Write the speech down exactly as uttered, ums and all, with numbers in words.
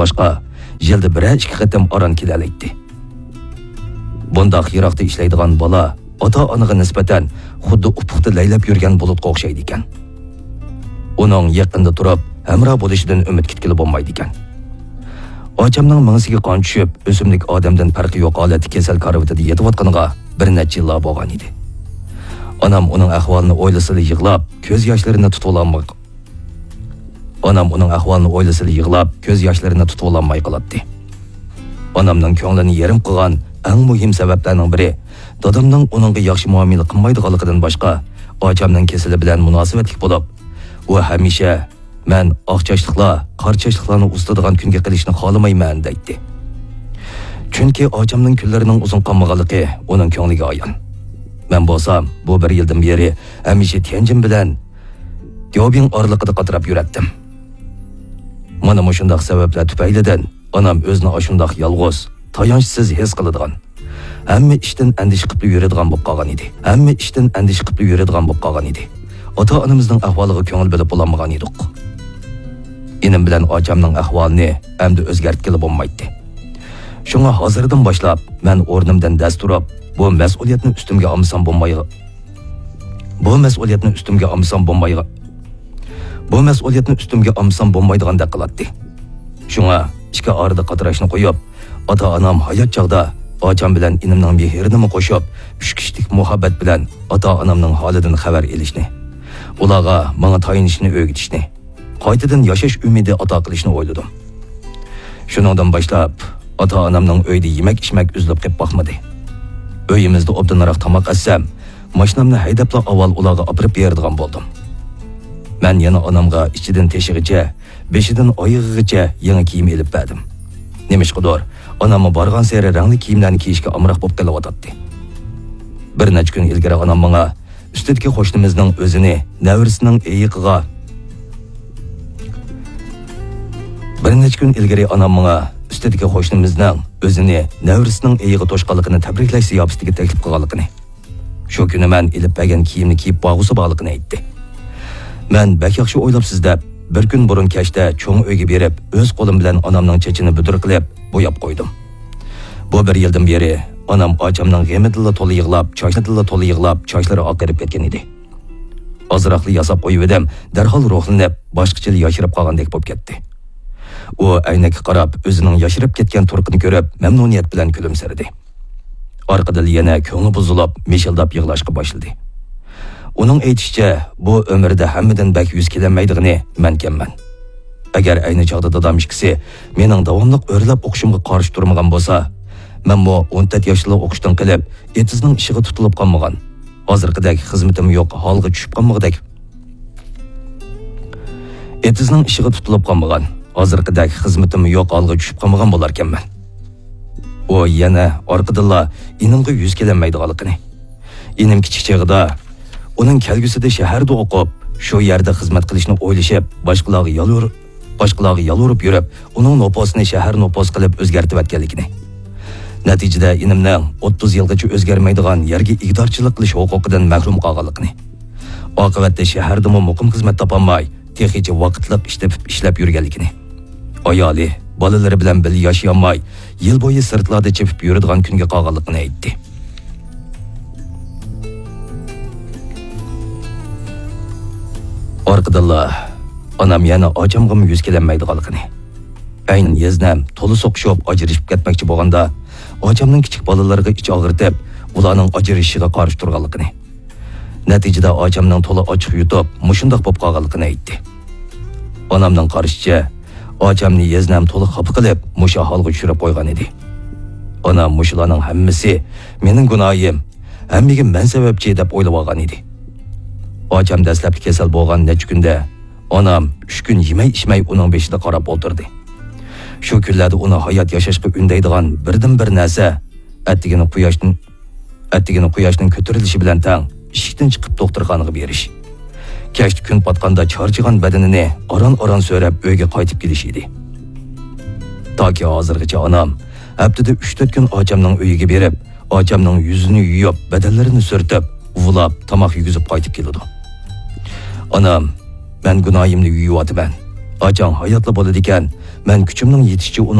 باشقا، يىلدا بىرەر ئىككى قېتىم ئاران كېلەلەيتتى. بۇنداق يىراقتا ئىشلەيدىغان بالا ئاتا-ئانىغا نىسبەتەن خۇددى ئۇپۇقتا لەيلەپ يۈرگەن بۇلۇتقا ئوخشايدىكەن. ئۇنىڭ يېقىندا تۇرۇپ ھەمراھ بولۇشىدىن ئۈمىد كۈتكىلى بولمايدىكەن. ئاچامنىڭ مېڭىسىگە قان چۈشۈپ، ئۆسۈملۈك ئادەمدىن پەرقى يوق ھالەتتە كېسەل كارىۋىتىدا يېتىۋاتقىنىغا بىر نەچچە يىللار بولغان ئىدى. ئانام ئۇنىڭ ئەھۋالىنى ئويلىسىلا يىغلاپ، كۆز ياشلىرىنى تۇتۇۋالالماي، ئانام ئۇنىڭ ئەھۋالىنى ئويلىسىلا يىغلاپ، كۆز ياشلىرىنى تۇتۇۋالالماي قالاتتى. ئانامنىڭ كۆڭلىنى يېرىم قىلغان ئەڭ مۇھىم سەۋەبلەرنىڭ بىرى، دادامنىڭ ئۇنىڭغا ياخشى مۇئامىلە قىلمايدىغانلىقىدىن باشقا، ئاچامنىڭ كېسىلى بىلەن مۇناسىۋەتلىك بولۇپ، ئۇ ھەمىشە، «مەن ئاق چاچلىقلار، قارا چاچلىقلارنى ئۇزىتىدىغان كۈنگە قېلىشنى خالىمايمەن» دەيتتى. چۈنكى ئاچامنىڭ كۈنلىرىنىڭ ئۇزۇن قالمىغانلىقى ئۇنىڭ كۆڭلىگە ئايان. مەن بولسام، بۇ بىر يىلدىن بېرى ھەمىشە تيەنجىن بىلەن دياۋبىڭ ئارىلىقىدا قاتراپ يۈرەتتىم. مانا مۇشۇنداق سەۋەبلەر تۈپەيلىدىن ئانام ئۆزىنى ئاشۇنداق يالغۇز، تايانچسىز ھېس قىلىدىغان، ھەممە ئىشتىن ئەندىشە قىپلا يۈرىدىغان بولۇپ قالغان ئىدى. ھەممە ئىشتىن ئەندىشە قىپلا يۈرىدىغان بولۇپ قالغان ئىدى. ئاتا-ئانىمىزنىڭ ئەھۋالىغا كۆڭۈل بۆلۈپ بولالمىغان ئىدۇق. ئىنىم بىلەن ئاچامنىڭ ئەھۋالىنى ئەمدى ئۆزگەرتكىلى بولمايتتى. شۇڭا ھازىردىن باشلاپ مەن ئورنۇمدىن دەس تۇرۇپ، بۇ مەسئۇلىيەتنى ئۈستۈمگە ئالمىسام بولمايغا-، بۇ مەسئۇلىيەتنى ئۈستۈمگە ئالمىسام بولمايغا-، بۇ مەسئۇلىيەتنى ئۈستۈمگە ئالمىسام بولمايدىغاندەك قىلاتتى. شۇڭا ئىككى ئارىدا قاتراشنى قويۇپ، ئاتا-ئانام ھايات چاغدا ئاچام بىلەن ئىنىمنىڭ مېھرىنىمۇ قوشۇپ، ئۈچ كىشىلىك مۇھەببەت بىلەن ئاتا-ئانامنىڭ ھالىدىن خەۋەر ئېلىشنى، ئۇلارغا ماڭا تايىنىشنى ئۆگىتىشنى، قايتىدىن ياشاش ئۈمىدى ئاتا قىلىشنى ئويلىدىم. شۇنىڭدىن باشلاپ، ئاتا-ئانامنىڭ ئۆيدە يېمەك-ئىچمەك ئۈزۈلۈپ قېلىپ باقمىدى. ئۆيىمىزدە ئوبدانراق تاماق ئەتسەم، ماشىنامنى ھەيدەپلا ئاۋۋال ئۇلارغا ئاپىرىپ بېرىدىغان بولدۇم. مەن يەنە ئانامغا ئىچىدىن تېشىغىچە، بېشىدىن ئايىغىغىچە يېڭى كىيىم ئېلىپ بەردىم. نېمىشقىدۇر، ئاناممۇ بارغانسېرى رەڭلىك كىيىملەرنى كىيىشكە ئامراق بولۇپ قېلىۋاتاتتى. بىر نەچچە كۈن ئىلگىرى ئانام ماڭا، ئۈستىدىكى قوشنىمىزنىڭ ئۆزىنى نەۋرىسىنىڭ ئېيىقىغا، بىر نەچچە كۈن ئىلگىرى ئانام ماڭا ئۈستىدىكى قوشنىمىزنىڭ ئۆزىنى نەۋرىسىنىڭ ئېيىقى توشقانلىقىنى تەبرىكلەش زىياپىتىگە تەكلىپ قىلغانلىقىنى، شۇ كۈنى مەن ئېلىپ بەرگەن كىيىمنى كىيىپ بارغۇسى بارلىقىنى ئېيتتى. مەن بەك ياخشى ئويلاپسىز دەپ، بىر كۈن بۇرۇن كەچتە چوڭ ئۆيگە بېرىپ، ئۆز قولۇم بىلەن ئانامنىڭ چېچىنى بۈدۈر قىلىپ، بوياپ قويدۇم. بۇ بىر يىلدىن بېرى ئانام ئاچامنىڭ غېمىدىنلا تولا يىغلاپ، چاچلىرىدىنلا تولا يىغلاپ، چاچلىرى ئاقىرىپ كەتكەن ئىدى. ئازراقلا ياساپ قويۇۋىدىم، دەرھال روھلىنىپ، باشقىچىلا ياشىرىپ قالغاندەك بولۇپ كەتتى. ئۇ ئەينەككە قاراپ، ئۆزىنىڭ ياشىرىپ كەتكەن تۇرقىنى كۆرۈپ، مەمنۇنىيەت بىلەن كۈلۈمسىرىدى. ئارقىدىنلا يەنە كۆڭلى بۇزۇلۇپ، مىشىلداپ يىغلاشقا باشلىدى. ئۇنىڭ ئېيتىشىچە، بۇ ئۆمرىدە ھەممىدىن بەك يۈز كېلەلمەيدىغىنى مەنكەنمەن. ئەگەر ئەينى چاغدا دادام ئىككىسى مېنىڭ داۋاملىق ئۆرلەپ ئوقۇشۇمغا قارشى تۇرمىغان بولسا، مەنمۇ ئون تۆت ياشلا ئوقۇشتىن قېلىپ، ئېتىزنىڭ ئىشىغا تۇتۇلۇپ قالمىغان، ھازىرقىدەك خىزمىتىم يوق ھالغا چۈشۈپ قالمىغۇدەك، ئېتىزنىڭ ئىشىغا تۇتۇلۇپ قالمىغان، ھازىرقىدەك خىزمىتىم يوق ھالغا چۈشۈپ قالمىغان بولاركەنمەن. ئۇ يەنە ئارقىدىنلا ئىنىمغا يۈز كېلەلمەيدىغانلىقىنى، ئىنىم كىچىك چېغىدا ئۇنىڭ كەلگۈسىدە شەھەردە ئوقۇپ، شۇ يەردە خىزمەت قىلىشنى ئويلىشىپ، باشقىلارغا يالۋۇر-، باشقىلارغا يالۋۇرۇپ يۈرۈپ، ئۇنىڭ نوپۇسىنى شەھەر نوپۇسى قىلىپ ئۆزگەرتىۋەتكەنلىكىنى، نەتىجىدە ئىنىمنىڭ ئوتتۇز يىلغىچە ئۆزگەرمەيدىغان يەرگە ئىگىدارچىلىق قىلىش ھوقۇقىدىن مەھرۇم قالغانلىقىنى، ئاقىۋەتتە شەھەردىمۇ مۇقىم خىزمەت تاپالماي، تېخىچە ۋاقىتلىق ئىش تېپىپ ئىشلەپ يۈرگەنلىكىنى، ئايالى، بالىلىرى بىلەن بىللە ياشىيالماي، يىل بويى سىرتلاردا چېپىپ يۈرىدىغان كۈنگە قالغانلىقىنى ئېيتتى. ئارقىدىنلا ئانام يەنە ئاچامغىمۇ يۈز كېلەلمەيدىغانلىقىنى، ئەينەن يېزنەم تولا سوقۇشۇپ ئاجرىشىپ كەتمەكچى بولغاندا، ئاچامنىڭ كىچىك بالىلىرىغا ئىچ ئاغرىتىپ، ئۇلارنىڭ ئاجرىشىشىغا قارشى تۇرغانلىقىنى، نەتىجىدە ئاچامنىڭ تولا ئاچچىق يۇتۇپ، مۇشۇنداق بولۇپ قالغانلىقىنى ئېيتتى. ئانامنىڭ قارىشىچە، ئاچامنى يېزنەم تولا خاپا قىلىپ، مۇشۇ ھالغا چۈشۈرۈپ قويغان ئىدى. ئانام مۇشۇلارنىڭ ھەممىسى مېنىڭ گۇناھىم، ھەممىگە مەن سەۋەبچى دەپ ئويلىۋالغان ئىدى. ئاچام دەسلەپتە كېسەل بولغان نەچچە كۈندە ئانام ئۈچ كۈن يېمەي-ئىچمەي ئۇنىڭ بېشىدا قاراپ ئولتۇردى. شۇ كۈنلەردە ئۇنى ھايات ياشاشقا ئۈندەيدىغان بىردىنبىر نەرسە، ئەتىگىنى قۇياشتىن ئەتىگىنى قۇياشنىڭ كۆتۈرۈلۈشى بىلەن تەڭ ئىشىكتىن چىقىپ دوختۇرخانىغا بېرىش. كەچتە كۈن پاتقاندا چارچىغان بەدىنىنى ئاران-ئاران سۆرەپ ئۆيگە قايتىپ كېلىش ئىدى. تاكى ھازىرغىچە ئانام ھەپتىدە ئۈچ-تۆت كۈن ئاچامنىڭ ئۆيىگە بېرىپ، ئاچامنىڭ يۈزىنى يۇيۇپ، بەدەنلىرىنى سۈرتۈپ، ئۇۋىلاپ، تاماق يېگۈزۈپ قايتىپ كېلىدۇ. ئانام، مەن گۇناھىمنى يۇيۇۋاتىمەن. ئاچاڭ ھاياتلا بولىدىكەن، مەن كۈچۈمنىڭ يېتىشىچە ئۇنىڭ